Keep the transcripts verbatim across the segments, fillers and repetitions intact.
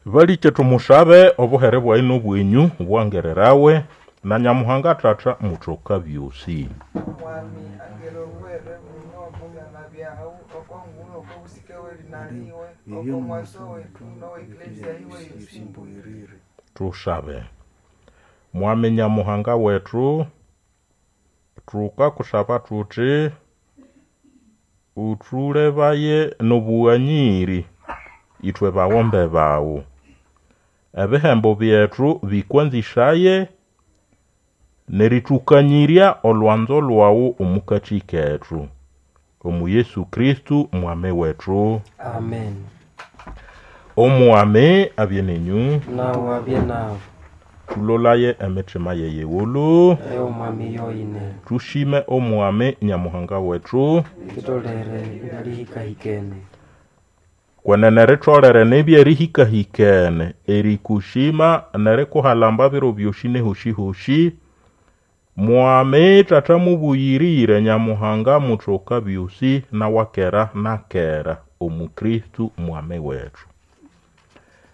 Balikye tumushabe obuhere bwayi n'obwenyu bwangererawe na Nyamuhanga Tata mutoka byosi. Mwami angere obuhere buno omo byalha byawu oko ngulu oko busike bw'erina liwe oko mwaso wetu n'owe Eklezia yiwe yosi. Tushabe. Mwami Nyamuhanga wetu, tukakushaba tuti uthulebaye n'obughanyiri ithwe baghombe bawu. Ebihembo byethu bikwanzishaye nerithukanyirya olwanzo lwawu omukathi kethu. Omu Yesu Kristo Mwami wetu. Amen. Omwami abye nenyu. Nawe abye nawe. Tulolaye emitima yeyighulu. Eyo Mwami yoyine. Tushime Omwami Nyamuhanga wetu. Litolere ebyalihikahikene. Kwenene ritolere nibya erihikahikene erikushima nerikuhalamba biro byosi nehosi-hosi. Mwami Tata mubuyirire Nyamuhanga mutoka byosi nawakera nakera omu Kristo Mwami wetu.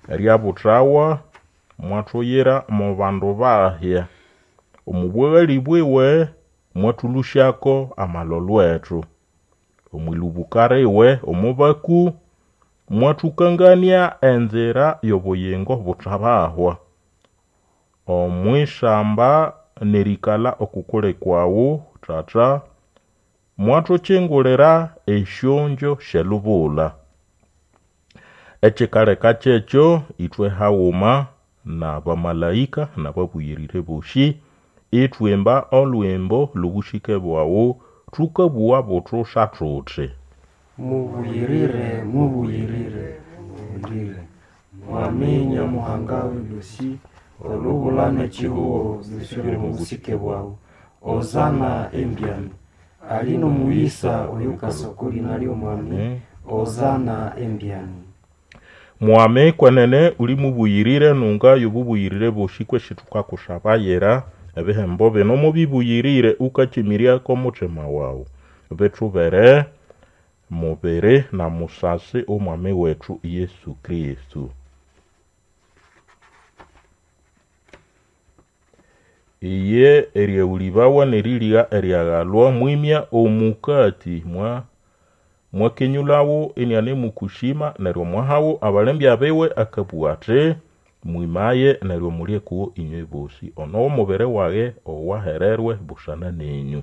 Eryabuthawa mwathuyira mo bandu bahya. Omu bwaghali bwiwe mwathũlũsyako amalolho ethu. Omwilubuka liwe omo baku mwathũkangania enzira y'obuyingo buthabahwa. Omwishamba n'erikalha okukuli kwawu Tata, mwathukyingulira esyongyo sy'elubula. Ekikaleka kyekyo ithwe haghuma n'abamalaika n'ababuyirire bosi ithwimba olhwimbo lw'obusike bwawu thukabugha buthusha thuthi: Mubuyirire, mubuyirire, mubuyirire. Mwami Nyamuhanga w'ebyosi, olubula n'ekihugo byosi biri mu busike bwawu. Hosana embyani. Ali n'omuyisa oyukasa oko lina ly'Omwami. Hosana embyani. Mwami kwenene uli mubuyirire nunga y'obubuyirire bosi kwesi thukakushabayira ebihembo bino mubibuyirire ukakimiryako omuthima wawu. Bithubere mubiri na musasi Omwami wetu Yesu Kristo. Iye eryaghulĩbawa n'eriligha eryaghalwa mwimya omukati mwa mwakenyulhawo inianemukushima neryo mwahawo abalembya biwe akabugha athi: Mwimaye neryo mulye kuwo inywe bosi. Ono w'omubiri wage owahererwe busana nenyu.